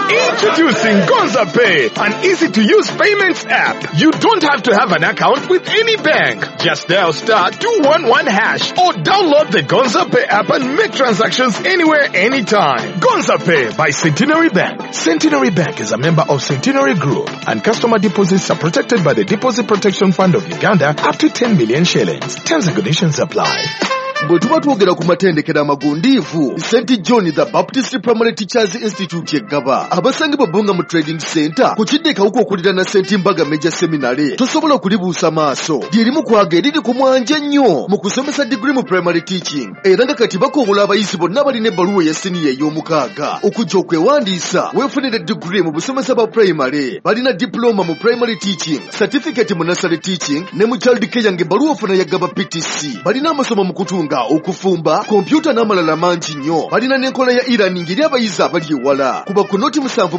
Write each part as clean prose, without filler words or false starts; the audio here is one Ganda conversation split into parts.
Introducing Gonza Pay, an easy-to-use payments app. You don't have to have an account with any bank. Just dial *211# or download the Gonza Pay app and make transactions anywhere, anytime. Gonza Pay by Centenary Bank. Centenary Bank is a member of Centenary Group, and customer deposits are protected by the Deposit Protection Fund of Uganda up to 10 million shillings. Terms and conditions apply. Bwe tuba twogera ku matendekero amagundiivu, St John the Baptist Primary Teachers Institute eggaba abasangibwa Bbunga mu Trading Center ku kidde Kawuka okuliraana St Mbaga Major Seminary, tosobola kulibuusa maaso. Lyerimu kwaga eriri ku mwanje ennyo mu kusomesa digiri mu primary teaching, era nga kati bakowola abayizi bonna balina ebbaluwa eya siniya ey'omukaaga okujja okwewandiisa weefunire digiri mu busomesa bwa primary. Balina diploma mu primary teaching, certificate mu nursery teaching ne mu child care, ng'ebbaluwa ofuna ya Gaba PTC. Balina amasomo mu kutunga, okufumba, kompyuta n'amalala mangi nnyo. Balina n'enkola ya e-learning eri abayizi abali ewala. Kuba ku 077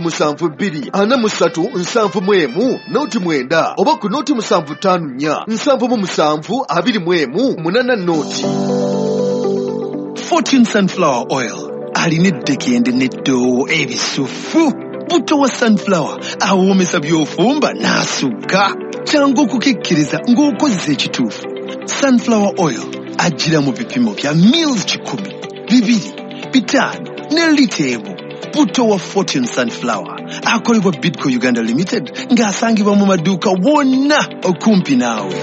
243 71 09 oba ku 0754 77 21 80. Fortune Sunflower Oil alina eddekende n'eddoowo ebisufu. Buto wa sunflower awoomesa by'ofumba n'asukka. Kyangu okukikkiriza ng'okozesa ekituufu. Sunflower Oil ajjira mu bipimo bya mils 100, 200, 500 ne lita emu. Buto wa Fortune Sunflower akolebwa Bidco Uganda Limited ng'asangibwa mu maduuka wonna okumpi naawe.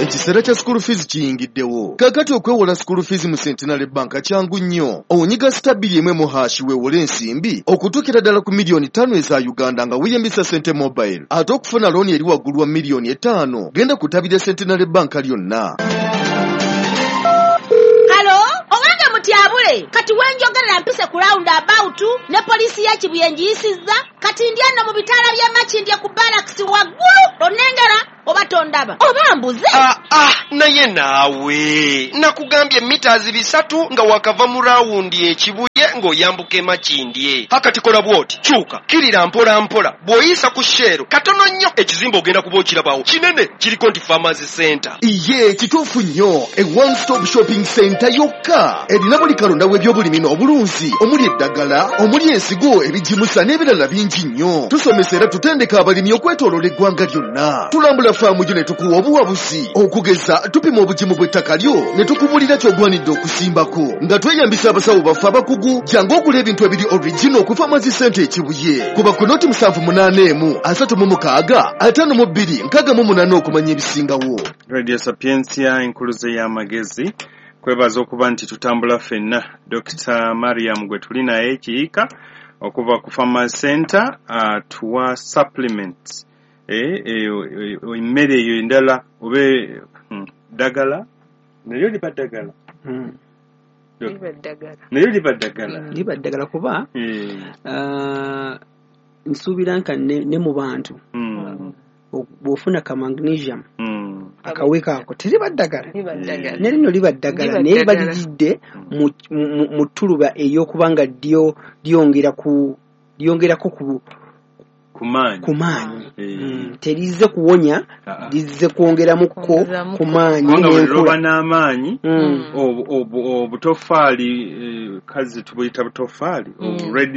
Ekiseera kya school fees kiyingiddewo. Kaakati okwewola school fees mu Centenary Bank kyangu nnyo. Onyiga *210# weewole ensimbi okutuukira ddala ku 5 miliyoni eza Uganda nga weeyambisa Sente Mobile. Ate okufuna looni eri waggulu wa 5 miliyoni, genda ku ttabi lya Centenary Bank lyonna. Hello, owange mutyabule, kati wenjogerera mpise ku round about ne poliisi ya Kibuye ngiyisizza. Kati ndi ano mu bitaala by'e Makindye ku barracks waggulu. Onnengera oba tondaba oba mbuze? Ah, ah, naye naawe nakugambye mita 300 nga wakava mu rawundi ekibuye ng'oyambuka emakindye. Akati kola bw'oti, kyuka kirira mpola mpola, bw'oyisa ku Shell katono nnyo, ekizimbe ogenda kuba okirabawo kinene, kiriko nti Farmers Center. Iye, kituufu nnyo. E one stop shopping center yokka erina buli kalonda w'ebyobulimi n'obulunzi, omuli eddagala, omuli ensigo, ebigimusa n'ebirala bingi nnyo. Tusomesa era tutendeka abalimi okwetooloola eggwanga lyonna. Tulambula faamu yo ne tukuwa obuwabuzi. Okugeza, tupima obugimu bw'ettaka lyo ne tukubulira ky'ogwanidde okusimbako nga tweyambisa abasawo baffe abakugu. Jangu ogula ebintu ebiri original ku Farmers Center Ekibuye. Kuba ku 078 36 52 68 okumanya ebisingawo. Radio Sapientia, enkuluze y'amagezi, kwebaza okuba nti tutambula ffenna. Dr Mariam gwe tuli naye Kiika okuva ku Farmers Center atuwa supplements, emmere eyo endala oba ddagala, nayo liba ddagala. Liba ddagala. Nayo liba ddagala. Liba ddagala kuba nsuubira nka ne mu bantu bw'ofuna ka magnesium akaweka ako, teriba ddagala? Liba ddagala. Ne lino liba ddagala. Liba naye ddagala. Balijjidde mu ttuluba ey'okuba nga lyo lyongera ku lyongerako ku ku maanyi. Ku maanyi. Terizze kuwonya. Ah, ah. Lizze kwongeramukko Kwongezamuko. ku maanyi Kubanga buli n'enkula. lwoba n'amaanyi, obutofaali, kazi tubuyita butofaali, red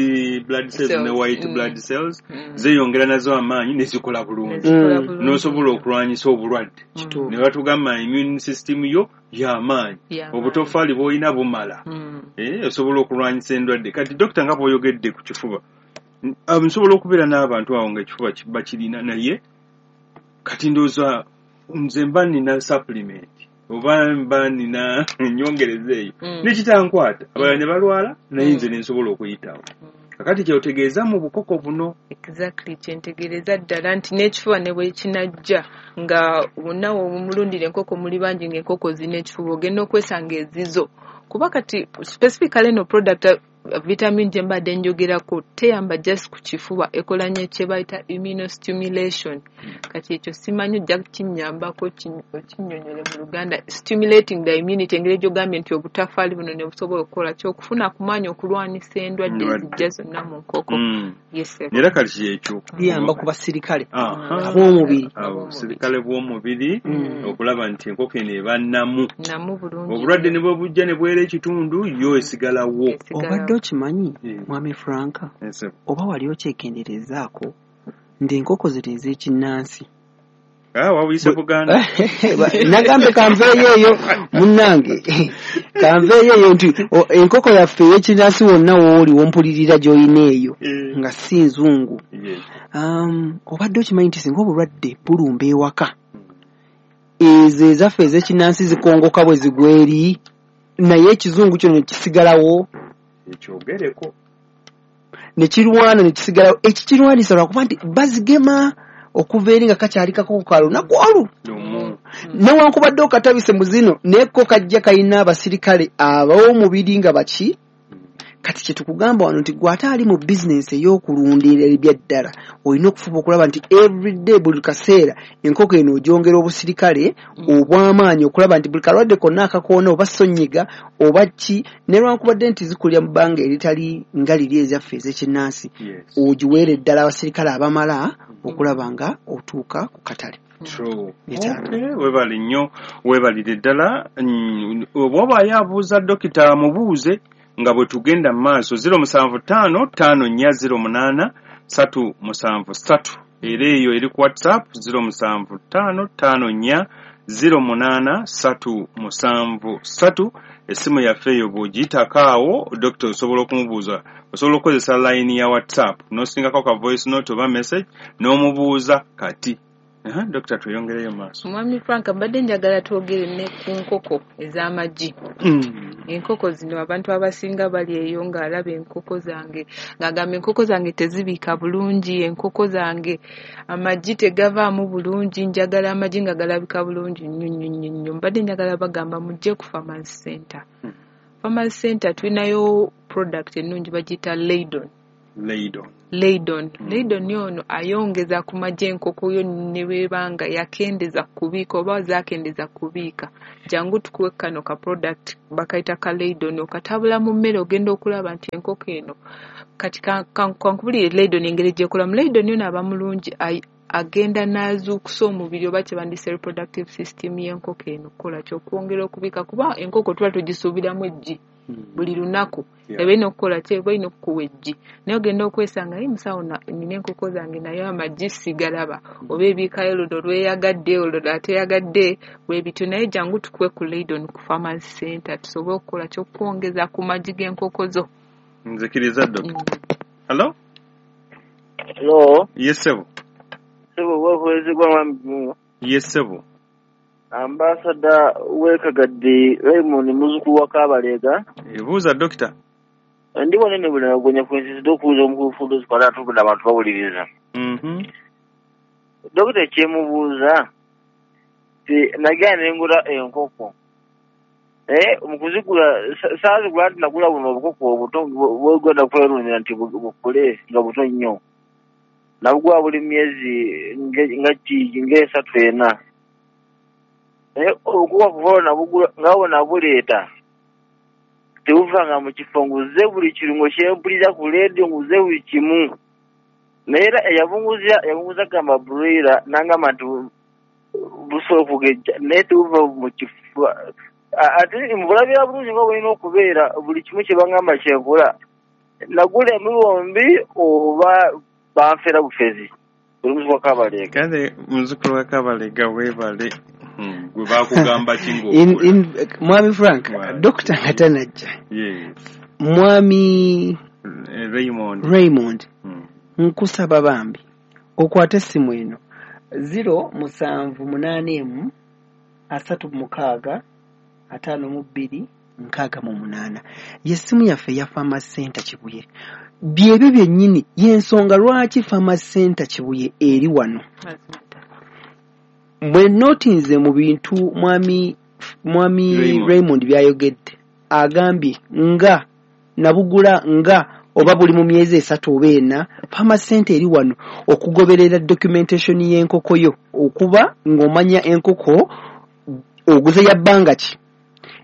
blood cells ne Cells, white blood cells zeeyongera nazo amaanyi ne zikola bulungi, Nezikola bulungi. n'osobola okulwanyisa obulwadde. Kituufu. Ne batugamba immune system yo y'amaanyi, Y'amaanyi. obutofaali bw'olina bumala. Osobola okulwanyisa endwadde. Kati dokita, nga bw'oyogedde ku kifuba, nsobola okubeera n'abantu awo nga ekifuba bakirina, naye kati ndowooza nze mba nina supplement oba mba nina ennyongereza eyo nekitankwata, abalala ne balwala, naye nze nensobola okuyitawo. Kakati kyotegeeza mu bukoko buno? Exactly, kyentegeereza ddala nti n'ekifuba ne bwe kinajja nga wonna womulundira enkoko muli bangi, ng'enkoko zirina ekifuba, ogenda okwesanga ezizo, kuba kati specifically eno product vitamin gye mbadde njogerako teyamba just ku kifuba, ekola nnyo kye bayita immunostimulation. Kati ekyo simanyi, ojja kinnyambako okinnyonnyole mu Luganda. Stimulating the immunity, engeri gy'ogambye nti obutafaali buno ne busobola okukola kyokufuna ku maanyi okulwanisa endwadde Endwadde. ezijja zonna mu nkoko. Yes, sir. Era kati kyekyo. Liyamba ku basirikale Aha. ab'omubiri. Abasirikale bw'omubiri, okulaba nti enkoko eno eba nnamu. Namu bulungi. Obulwadde ne bwe bujja ne bwera ekitundu, yo esigalawo. Esigalawo. Obadde okimanyi, Mwami Franka, oba wali okyekenderezaako nti enkoko zino ez'ekinnansi Wabuyise Buganda. Nagambe kanveeyo eyo munnange, kanveeyo eyo nti enkoko yaffe ey'ekinnansi wonna wooli wompulirira gy'olina eyo nga si nzungu. Obadde okimanyi nti singa obulwadde bulumba ewaka, ezo ezaffe ez'ekinnansi zikongoka bwe zigwa eri, naye ekizungu kyo ne kisigalawo, ekyogereko ne kirwana ne kisigalawo. Ekikirwanisa lwakuba nti bazigema okuva eri nga kakyali kakoko ka lunaku olwo, newankubadde okatabise mu zino, naye ko kajja kalina abasirikale ab'omubiri nga baki. Kati kye tukugamba wano nti gwe ate ali mu bizinensi ey'okulundira ebyaddala, olina okufuba okulaba nti everyday, buli kaseera, enkoko eno ogyongera obusirikale obw'amaanyi okulaba nti buli kalwadde konna akakoona oba sonyiga oba ki, newankubadde nti zikulira mu bbanga eritali nga liri ezaffe ez'ekinnansi, ogiweere ddala abasirikale abamala okulaba nga otuuka ku katale. Webale nnyo, webalire ddala. Bw'oba abuuza dokita mubuuze nga bwe tugenda mu maaso. 075 5408 373, era eyo eri ku WhatsApp 075 54 08 373. Essimu yaffe eyo bw'ogiyitako awo dokita osobola okumubuuza, osobola okukozesa layini ya WhatsApp n'osindikako ka voice note oba message n'omubuuza kati. Dokita, tweyongereyo maaso. Mwami Frank, mbadde njagala twogere ne ku nkoko ez'amagi. Enkoko zino abantu abasinga bali eyo ng'alaba enkoko zange ng'agamba enkoko zange tezibiika bulungi, enkoko zange amagi tegavaamu bulungi, njagala amagi nga galabika bulungi nnyo nnyo nnyo nnyo. Mbadde njagala bagamba mujje ku Farmers Center. Farmers Center tulinayo product ennungi bagiyita Laydon. Laydon. Laydon. Laydon ono ayongeza ku magi enkoko yo ne bw'eba yakendeza kubiika oba zaakendeza kubiika. Jangu tukuwe kano ka product bakayita ka Laydon, okatabula mu mmere ogenda okulaba nti enkoko eno kati kankubulire Laydon engeri gy'ekolamu. Laydon ono aba mulungi, agenda n'azuukusa omubiri oba kye bandiyise reproductive system y'enkoko eno okukola ki, okwongera okubiika, kuba enkoko tuba tugisuubiramu eggi buli lunaku, eba erina okukola ki, eba erina okukuwa eggi, naye ogenda okwesanga naye musawo nina enkoko zange naye amagi sigalaba, oba ebiikayo luno lweyagadde olwo ateyagadde bwe bityo. Naye jangu tukuwe ku Laydon ku Farmers Center tusobole okukola ki, okwongeza ku magi g'enkoko zo. Nzikiriza dokita. Hello? Hello? Yes, sebo. Sebo, wakwezegwa mwami. Yes, sebo. Ambassador wekagadde Raymond muzukulu wa Kabalega. Ebuuza dokita. Ndi wanene buli nagonya kwensisi okubuuza omukulu Funduzi kwala atubula abantu bawuliriza. Dokita kyemubuuza ti nagenda ne ngula enkoko. Mu kuzigula saazigula nti nagula buno obukoko obuto bwegenda kwerundira nti bukule nga buto nnyo. Nabugula buli myezi nga ng'esatu ena. Okuba kuva nabugula nga nabuleeta tebuvanga mu kifo, nguze buli kirungo kyempulira ku leediyo, nguze buli kimu. Naye era eyabunguza gamba broiler n'angamba nti busobola okugejja, naye tebuva mu kifo. Ate mbulabira bulungi nga bulina okubeera buli kimu kye bangamba kyenkola. Nagula emibombi oba banfera bufezi. Buli muzukulu wa Kabalega. Kale muzukulu wa Kabalega weebale. Gwe bakugamba ki ng'ogula? Mwami Frank, dokita nga tanajja. Yes. Mwami Raymond. Nkusaba bambi okwate essimu eno 0781 36 52 68. Ye ssimu yaffe eya Farmers Center Kibuye. Byebyo byennyini y'ensonga lwaki Farmers Center Kibuye eri wano. Bwe nootinze mu bintu mwami Raymond byayogedde, agambye nga nabugula nga oba buli mu myezi 3 oba 4, Farmers Center eri wano okugoberera documentation y'enkoko yo, okuba ng'omanya enkoko oguze ya bbanga ki.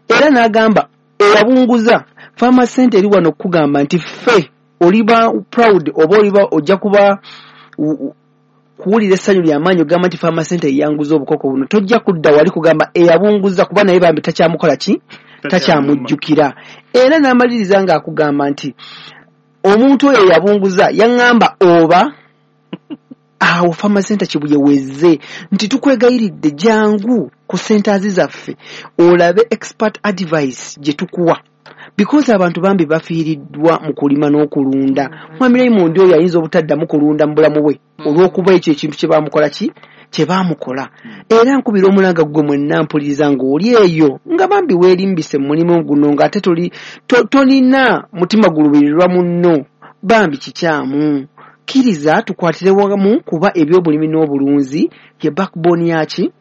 Era n'agamba eyabunguza Farmers Center eri wano okugamba nti ffe oliba proud oba oliba ojja kuba kuwulira essanyu ly'amaanyi ogamba nti Farmers Center eyanguza obukoko buno. Tojja kudda wali kugamba eyabunguza, kuba naye bambi takyamukola ki, Takyamujjukira. Era n'amaliriza ng'akugamba nti omuntu oyo yabunguza yaŋŋamba oba awo Farmers Center Kibuye wezze nti tukwegayiridde jangu ku centers zaffe olabe expert advice gye tukuwa, because abantu bambi bafiiriddwa mu kulima n'okulunda. Mwami Raymond oyo ayinza obutaddamu kulunda mu bulamu bwe olw'okuba ekyo ekintu kye baamukola ki kye baamukola. Era nkubira omulanga gwe mwenna mpuliriza ng'oli eyo nga bambi weerimbise mu mulimu guno ng'ate tolina mutima gulubirirwa munno, bambi kikyamu. Kkiriza tukwatire wamu kuba ebyobulimi n'obulunzi ye backbone yaki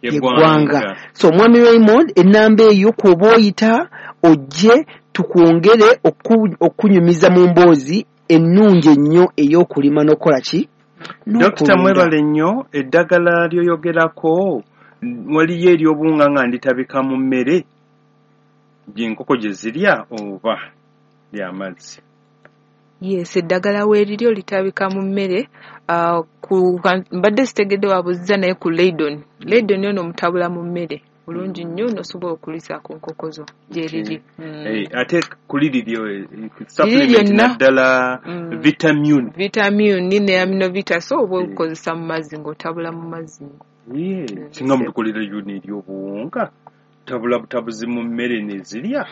yeggwanga. So mwami Raymond, ennamba eyo kw'oba oyita ojje tukwongere okunyumiza mu mboozi ennungi ennyo ey'okulima n'okukola ki? Dokita mwebale nnyo. Eddagala lyoyogerako waliyo ery'obuwunga nga nditabika mu mmere gy'enkoko gye zirya oba ly'amazzi? Yes, eddagala weeriri olitabika mu mmere. Mbadde sitegedde wabuzza, naye ku Leidon ono omutabula mu mmere bulungi nnyo n'osobola okulisa ku nkoko zo gyeriri. Ate kuliri supplement naddala vitamin ne aminovita, so oba okozesa mu mazzi ng'otabula mu mazzi. Singa mutukolera yona ery'obuwunga tabula butabuzi mu mmere nezirya.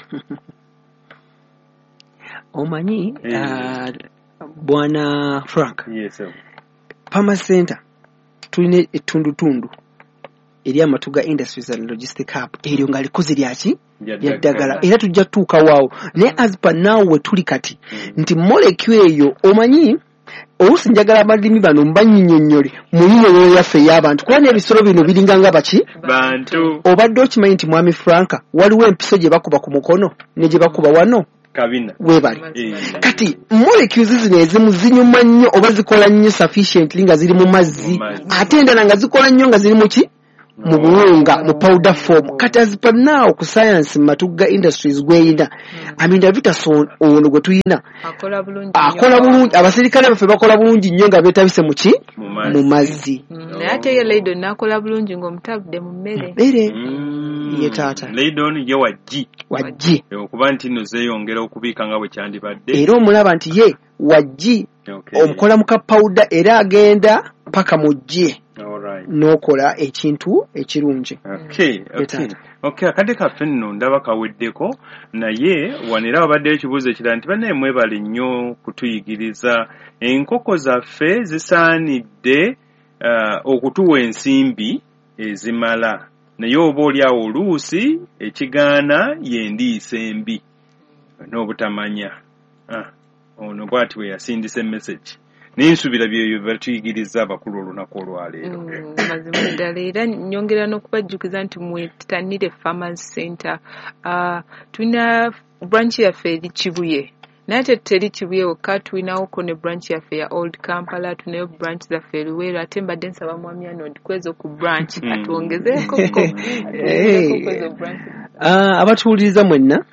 Omanyi Bwana Frank, yes, Farmers Center tulina ettundutundu eri Amatuga Industries and Logistic Hub, eryo nga likoze lyaki lyaddagala, era tujja tutuuka waawo. Naye as per now we tuli kati nti molecule eyo, omanyi oluusi njagala abalimi bano mbannyinnyonnyole mu nnyonnyonyo yaffe ey'abantu, kuba n'ebisolo bino biringa nga baki bantu. Obadde okimanyi nti mwami Frank waliwo empiso gye bakuba ku mukono ne gye bakuba wano kabina weebale. Kati molecules zino ezimu zinyuma nnyo oba zikola nnyo sufficiently nga ziri mu mazzi, ate endala nga zikola nnyo nga ziri mu ki? Mu buwunga, mu powder form. Kati as per now ku science Matugga Industries gweyina Aminovita ono gwe tuyina akola bulungi, abasirikale baffe bakola bulungi nnyo nga beetabise mu ki? Mu mazzi. Naye ate ye Leidon n'akola bulungi ng'omutabudde mu mmere. Ye taata Leidon ye waggi okuba nti nno zeeyongera okubiika nga bwe kyandibadde, era omulaba nti ye waggi omukola mu kapawuda era agenda paka mu ggi n'okola ekintu ekirungi. Okay, akadde kaffe nno ndaba kaweddeko, naye wano era wabaddeyo ekibuuzo ekirala nti bannaye mwebale nnyo kutuyigiriza. Enkoko zaffe zisaanidde okutuwa ensimbi ezimala, naye oba oli awo oluusi ekigaana y'endiisa embi n'obutamanya. Ono bw'ati bwe yasindise message. Naye nsuubira bye batuyigiriza abakulu olunaku olwaleero. Mazima ddala, era nyongera n'okubajjukiza nti mwetanire Farmers Center. Tulina branch yaffe eri Kibuye, naye ate teri Kibuye wokka, tulinawoko ne branch yaffe ya Old Kampala, tulinayo branch zaffe Luweero. Ate mbadde nsaba mwami Arnold kwezo ku branch atwongezeeko kwezo branch. Abatuwuliriza mwenna,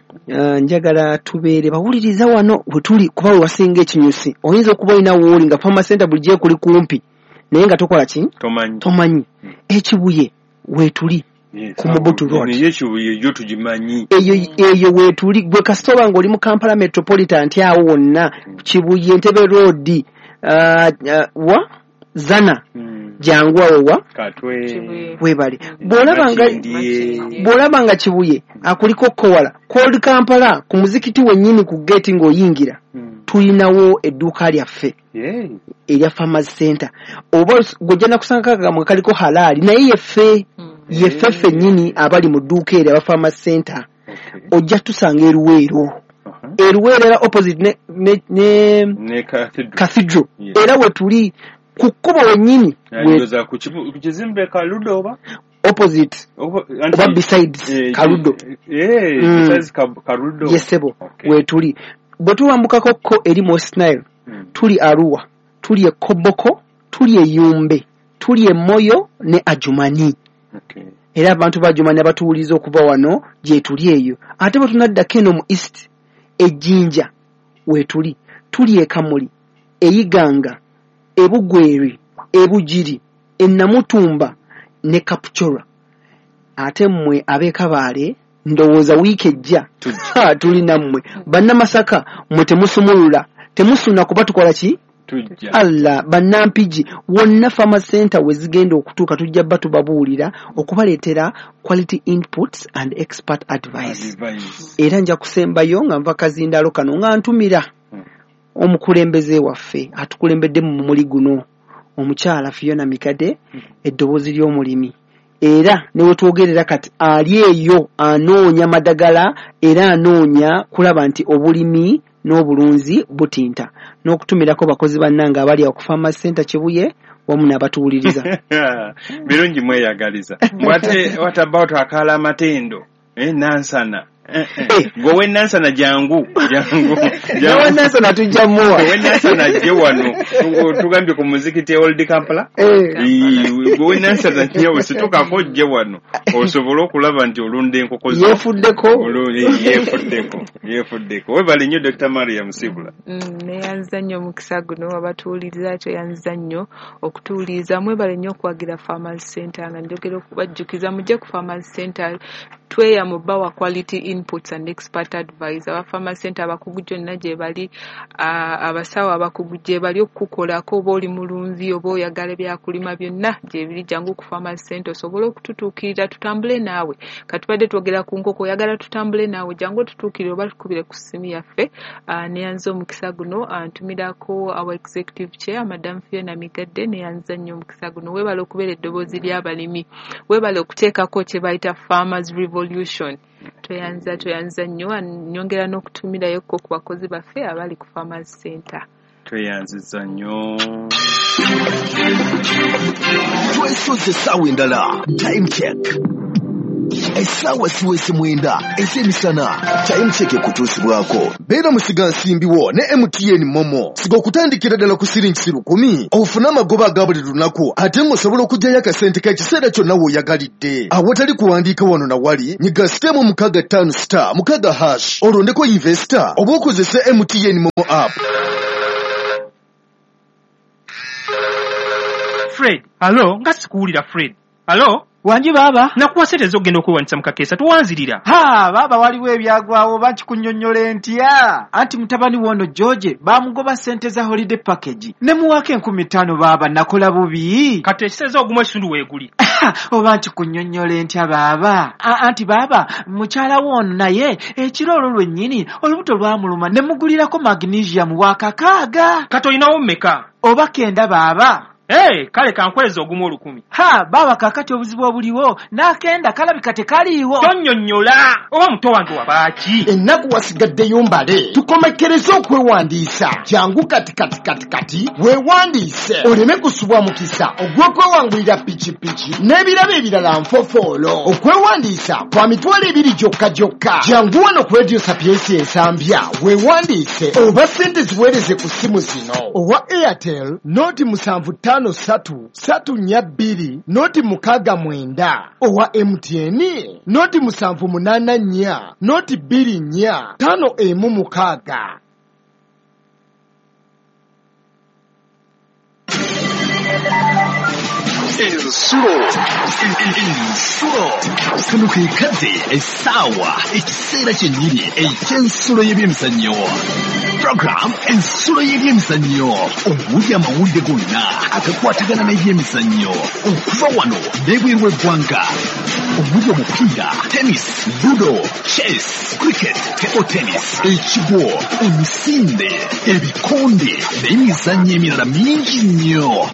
njagala tubeere bawuliriza wano we tuli, kuba we wasinga ekinyusi. Oyinza okuba olina wooli nga Farmers Center bulijjo ekuli kumpi, naye nga tokola ki? Tomanyi. Ekibuye weetuli ku Mobutu Road. Ekibuye yo tugimanyi. Eyo weetuli. Gwe kasita oba ng'oli mu Kampala Metropolitan nti awo wonna Kibuye, Entebbe Road, wa Zana, jangu awo wa Katwe weebale. Bw'olaba nga Kibuye akuliko kowala Old Kampala ku muzikiti wennyini ku gate ng'oyingira, tulinawo edduuka lyaffe erya Farmers Center. Oba gw'ojja nakusanga kagambo kaliko halaali, naye yeffe ffennyini abali mu dduuka eryo aba Farmers Center. Ojja tusanga Eruweero. Eruweero era opposite ne Cathedral. Era we tuli ku kkubo wennyini. Ku kizimbe Kaludo oba? Opposite oba besides Kaludo. Besides Kaludo. Yesebo wetuli. Bwe tuwambukako ko eri mu West Nile, tuli Arua, tuli e Koboko, tuli e Yumbe, tuli e Moyo ne Adjumani. Era abantu ba Adjumani abatuwuliza okuva wano gye tuli eyo. Ate bwe tunaddako eno mu East, e Jinja wetuli, tuli e Kamuli, e Iganga, e Bugweri, e Bugiri, e Namutumba ne Kapchorwa. Ate mmwe ab'e Kabaale Ndowooza wiiki ejja tuli nammwe. Bannamasaka mmwe temusumulula, temusuna kuba tukola ki? Allah, bannampigi wonna Farmer Center we zigenda okutuuka tujja bba tubabuulira okubaleetera quality inputs and expert advice. Era nja kusembayo nga nva kazindaalo kano nga ntumira omukulembeze waffe atukulembedde mu mumuli guno, omukyala Fiona Mikade, eddoboozi ly'omulimi. Era ne we twogerera kati ali eyo anoonya madagala era anoonya kulaba nti obulimi n'obulunzi butinta, n'okutumirako bakozi bannange abali awo ku Farmer Center Kibuye wamu n'abatuwuliriza. Birungi mweyagaliza. What about akala amatendo? Nansana. Gwe we Nansana jangu. Nawe Nansana tujja muwa. We Nansana je wano. Tugambye ku muzikiti Old Kampala. Gwe we Nansana nyawo situkako je wano. Osobola okulaba nti olunda enkoko zo. Yeefuddeko. Yeefuddeko. Webale nnyo Dr. Mariam Sibula. Neyanziza nnyo omukisa guno, abatuwuliriza tweyanziza nnyo okutuwuliriza. Mwebale nnyo okuwagira Farmers Center, nga njogera okubajjukiza mujje ku Farmers Center tweyamu bawa quality inputs and expert advice. Aba Farmers Center abakugu gyonna gye bali, abasawo abakugu gye bali okukukolako, oba oli mulunzi oba oyagala byakulima byonna gye biri. Jangu ku Farmers Center osobole okututuukirira tutambule naawe. Katubadde twogera ku nkoko, oyagala tutambule naawe, jangu otutuukirire oba tukubire ku ssimu yaffe. Neyanziza omukisa guno, ntumirako our executive chair Madam Fiona Migadde, neyanziza nnyo omukisa guno. Weebale okubeera eddoboozi ly'abalimi, weebale okuteekako kye bayita Farmers Revolution. Tweyanza nnyo, nyongera n'okutumirayo ko ku bakozi baffe abali ku Farmers Center. Tweyanziza nnyo. Twesoze essaawa endala. Time check. Essaawa siwese 9 ez'emisana. Time check ekutuusibwako. Beera musigansimbiwo ne MTN Momo. Siga okutandikira ddala ku siringi 1,000 ofune amagoba aga buli lunaku, ate ng'osobola okuggyayo akasente k'ekiseera kyonna w'oyagalidde. Awatali kuwandiika wano na wali, nyiga *656*6# olondeko investor oba okozese MTN Momo app. Fred, alo, nga sikuwulira Fred. Alo? Wangi baba. Nakuwa sente z'ogenda okwewandisa mu kakeesa towanzirira. Ha, baba waliwo ebyagwawo bakikunnyonnyola ntya. Anti mutabani wono George bamugoba sente za holiday package. Ne muwaako 5,000 baba nakola bubi. Kati ekiseera ogumu ekitundu weeguli. Oba nkikunnyonnyola ntya baba. Anti baba mukyala wono naye ekiro olwo lwennyini olubuto lwamuluma ne mugulirako magnesium wa 6. Kati olinawo mmeka? Oba 9 baba. Hey, kale kankweza ogumu 1,000. Ha, baba kakati obuzibu obuliwo n'akenda kalabika tekaliiwo. Tonnyonnyola oba muto wange wabaaki. Ennaku wasigaddeyo mbale, tukomekereze okwewandiisa. Jangu kati kati kati kati weewandiise oleme kusubwa mukisa ogw'okwewangulira pikipiki n'ebirabo ebirala nfofoolo. Okwewandiisa kwa 2,000 gyokka gyokka. Jangu wano ku Radio Sapientia Ensambya weewandiise oba ssente ziweereze ku ssimu zino: owa Airtel 075 3 3 4 2 0 69, owa MTN 078 4 0 2 4 5 1 6. Ensulo. Kano ke kadde, essaawa, ekiseera kyennyini eky'ensulo y'ebyemizannyo. Program Ensulo y'ebyemizannyo omuli amawulire gonna agakwatagana n'ebyemizannyo okuva wano n'ebweru w'eggwanga, omuli omupiira, tennis, ludo, chess, cricket, table tennis, ekigwo, emisinde, ebikonde n'emizannyo emirala mingi nnyo.